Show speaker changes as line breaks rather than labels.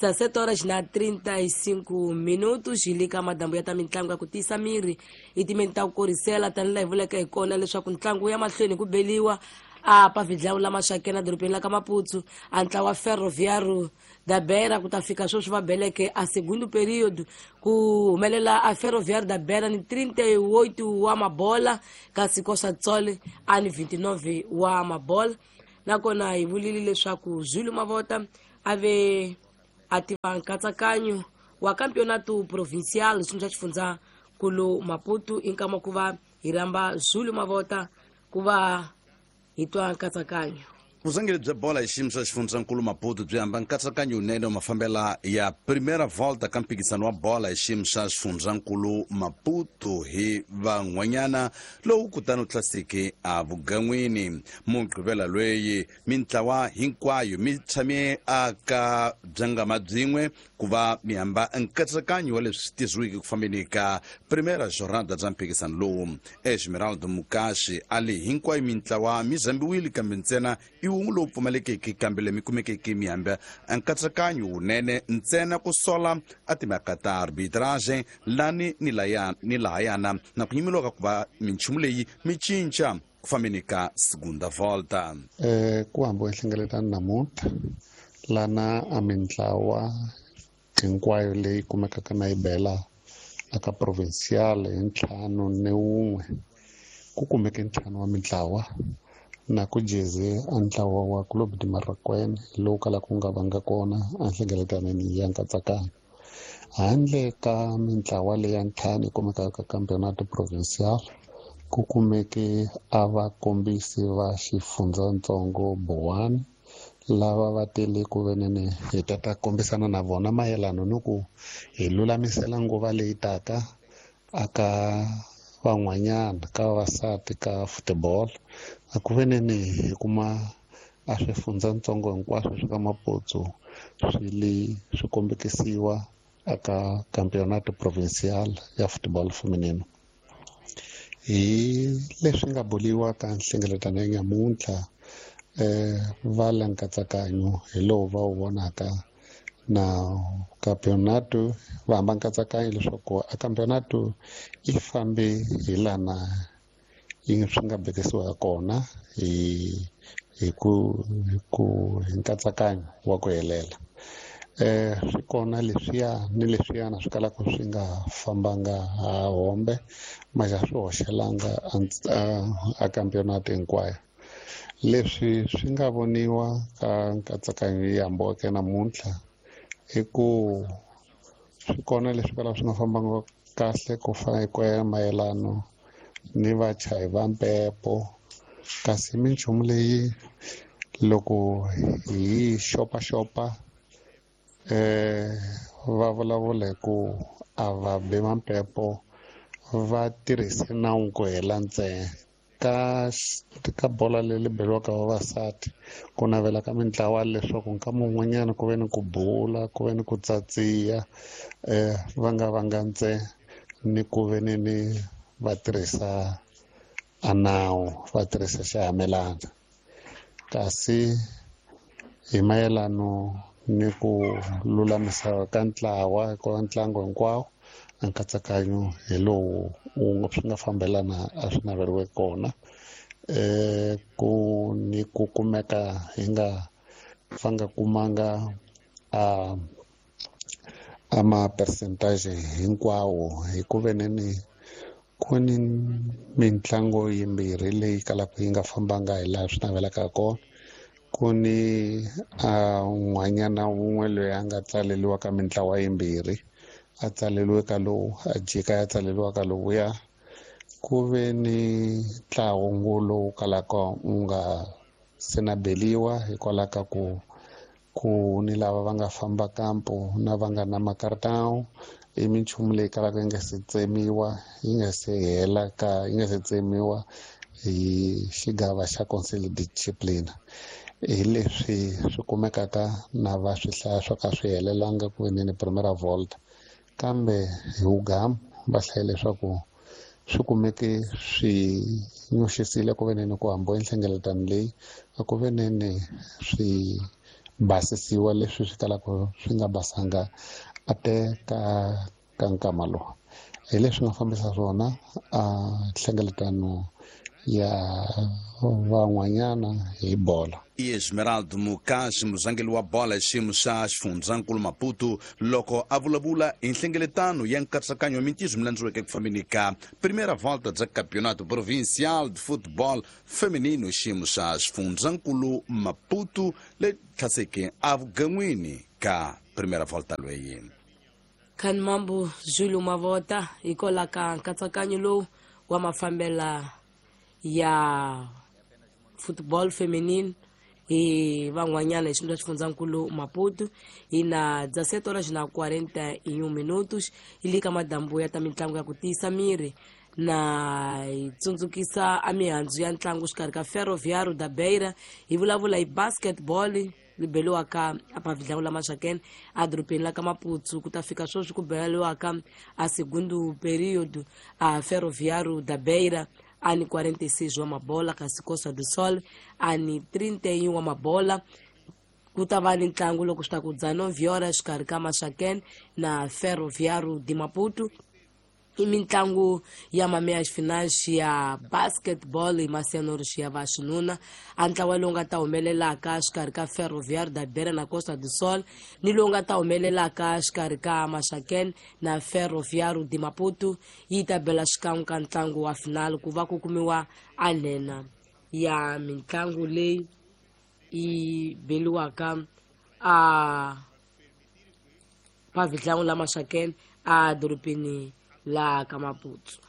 17 horas na 35 minutos hi le ka madambu ya ta mitlangu ya ku tiyisa miri hi timeni ta ku korisela tanihi laha hi vuleke hi kona leswaku ntlangu ya mahlweni ku beliwa a pavidlawu lama xakena dorobeni la ka Maputo a ntlawa Ferroviário da Beira ku ta fika sweswi va beleke a segundo período ku humelela a Ferroviário da Beira ni 38 wa mabola kasi Costa Tsole a ni 29 wa mabola. Nakona hi vulile leswaku Zulu Mavota a ve a tiva nkatsakanyo wa Campeonato Provincial xiyimo xa xifundza kulu Maputo i nkama ku va hi rhamba Zulu Mavota ku va hi twa nkatsakanyo.
Vuzangeri bya bola hi xiyimo xa xifundzankulu Maputo byi hamba nkatsakanyo wunene wa mafambela ya Primera Volta ka mphikizano wa bola hi xiyimo xa xifundzankulu Maputo hi van'wanyana lowu kutani wu tlaseke a vugan'wini. Mugqivela lweyi mintlawa hinkwayo mi tshame aka byangama byin'we ku va mi hamba nkatsakanyo wa leswi swi tirhisiweke ku fambeni ka Primera Jornada bya mphikizano lowu. Esmeraldo Mukashi a li hinkwayo mintlawa mi zambiwile kambe ntsena i wun'we lowu pfumalekeke kambe le mi kumekeke mi hamba nkatsakanyo wunene ntsena ku sola a timhaka ta arbitrage lani ni laya ni lahayana na ku nyimeliwa ka ku va minchumu leyi mi cinca ku fambeni ka Segunda Volta.
Ku hambiwe nhlengeletano namuntlha lana a mintlawa hinkwayo leyi kumekaka na yi bela aka provincial hi 51 ku kumeke 5 wa mintlawa na ku jeze a ntlawa wa Clube de Marraquene lowu kalaka ku nga vanga kona a nhlengeletanweni ya nkatsakanyo. Handle ka mintlawa leyi ya 5 yi kumekaka ka Campeonato Provincial ku kumeke a vakombisi va xifundzatsongo Boane lava va tele ku venene hi ta ta kombisana na vona mayelano ni ku hi lulamisela nguva leyi taka aka van'wanyana ka vavasati ka football. A ku venene hi kuma a swifundzatsongo hinkwaswo swa ka Maputo swi le swi kombekisiwa aka Campeonato Provincial ya Football Feminino. Hi leswi nga boliwa ka nhlengeletano ya nyamuntlha va la nkatsakanyo hi lowu va wu vonaka na campeonato va hamba nkatsakanyo leswaku a campeonato yi fambe hi lana yi swi nga bekisiwa kona hi ku hi ku hi nkatsakanyo wa ku helela. Swi kona leswiya ni leswiyana swi kalaka swi nga fambanga ha hombe maxa swi hoxelanga a campeonato hinkwayo. Leswi swi nga voniwa ka nkatsakanyo yi hambiweke namuntlha i ku swi kona leswi kalaka swi nga fambanga kahle ku fana hi ku ya mayelano ni vachayi va mpepo kasi minchumu leyi loko hi xopaxopa va vulavula hi ku a va bi mampepo va tirhise nawu ku hela ntsena. Ka bola leyi beriwaka vavasati ku navela ka mintlawa leswaku nkama wun'wanyana ku ve ni ku bula ku ve ni ku tsatsiya va nga vanga ntsena ni ku ve ni ni va tirhisa a nawu va tirhisa xihamelana. Kasi hi mayelano ni ku lulamisa ka ntlawa ka ntlangu hinkwawo a nkatsakanyo hi lowu wu swi nga fambelana a swi naveriwe kona. Ku ni ku kumeka hi nga va nga kumanga a ma percentage hinkwawo hi ku veneni ku ni mintlango yimbirhi leyi kalaka yi nga fambanga hi laha swi navelaka kona. Ku ni a n'wanyana wun'we loyi a nga tsaleliwa ka mintlawa yimbirhi a tsaleliwe ka lowu a jika ya tsaleliwa ka lowuya. Ku ve ni ntlangu lowu kalaka wu nga se na beliwa hikwalaho ka ku ni lava va nga famba kampo na va nga na makartawu i minchumu leyi kalaka yi nga se tsemiwa yi nga se hela ka yi nga se tsemiwa hi xigava xa Conseil de Discipline. Hi leswi swi kumekaka na va swi hlaya swo ka swi helelanga ku ve ni Primera Volta kambe hi wugamu va hlaye leswaku swi kumeke swi nyoxisile ku ve ni ku hambiwe nhlengeletano leyi a ku ve ni swi Basisiwa leswi swi kalaka swi nga basanga a te ka nkama lowu. Hi leswi nga fambisa swona a nhlengeletano ya van'wanyana hi bola.
Esmeraldo Mukashi, muzangeli wa bola hi xiyimo xa xifundzankulu Maputo, loko a vulavula hi nhlengeletano ya nkatsakanyo wa mintirho mi landziweke ku fambeni ka Primeira Volta bya Campeonato Provincial de Futebol Feminino hi xiyimo xa xifundzankulu Maputo le tlhaseke evugan'wini ka Primeira Volta lweyi.
Khanimambo Zulu Mavota hikola ka nkatsakanyo lowu wa mafambela ya football feminine hi van'wanyana hi xiyimo xa xifundzankulu Maputo. Hi na 17 horas na 41 minutos hi le ka madambu ya ta mitlangu ya ku tiyisa miri, na hi tsundzukisa a mihandzu ya ntlangu xikarhi ka Ferroviário da Beira. Hi vulavula hi basketball li beliwaka apavhidlangu la Maxakene edorobeni la ka Maputo. Ku ta fika sweswi ku beliwaka a segundo período, a Ferroviário da Beira ani 46 wa mabola, kasi Costa do Sol ani 31 wa mabola. Ku ta va ni ntlangu loko swi ta ku 19 horas xikarhi ka Maxakene na Ferroviário de Maputo. I mitlangu ya meias finais ya basketball hi masianori ya vaxinuna. A ntlawa lowu nga ta humelelaka xikarhi ka Ferroviário da Beira na Costa do Sol ni lowu nga ta humelelaka xikarhi ka Maxakene na Ferroviário de Maputo yi ta bela xikan'we ka ntlangu wa final, ku va ku kumiwa a nhenha ya mitlangu leyi yi beliwaka a pavhidlangu la Maxakene a dorobeni la ka Maputo.